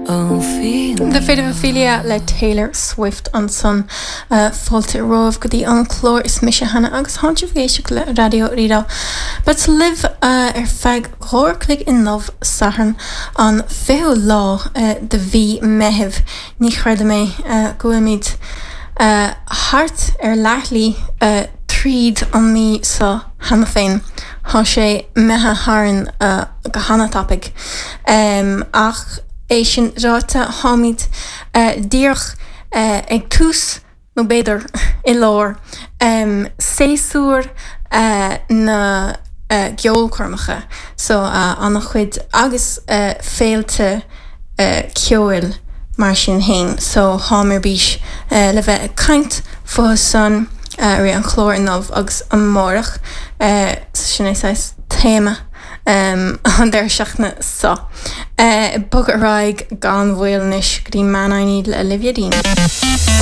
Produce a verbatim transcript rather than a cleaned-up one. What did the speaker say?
The Fate of Ophelia le Taylor Swift ansan uh, fáilte romhaibh go dtí an clár is mise Hannah agus tá sibh ag éisteacht le Raidió Rí-Rá. Bead libh uh, ar feadh dhá uair chloig inniu Satharn an fichiú lá uh, de mhí Meitheamh ní chreidim é uh, go bhfuilimid uh, thart ar leathshlí uh, tríd an mí seo cheana féin. Tá sé imithe tharainn uh, go han-tapaidh. Um, ach é sin ráite táimid uh, díreach uh, ag tús nó b'fhéidir i lár um, séasúr uh, na uh, gceolchoirmeacha so uh, an-chuid agus uh, féilte uh, ceoil mar sin féin so táim ar bís uh, le bheith ag caint fúthu san uh, ar an chlár inniu agus amárach uh, sin é téama um, an deireadh seachtaine seo. Uh, Bog ar aghaidh gan mhoill anois go dtí Man I Need le Olivia Dean.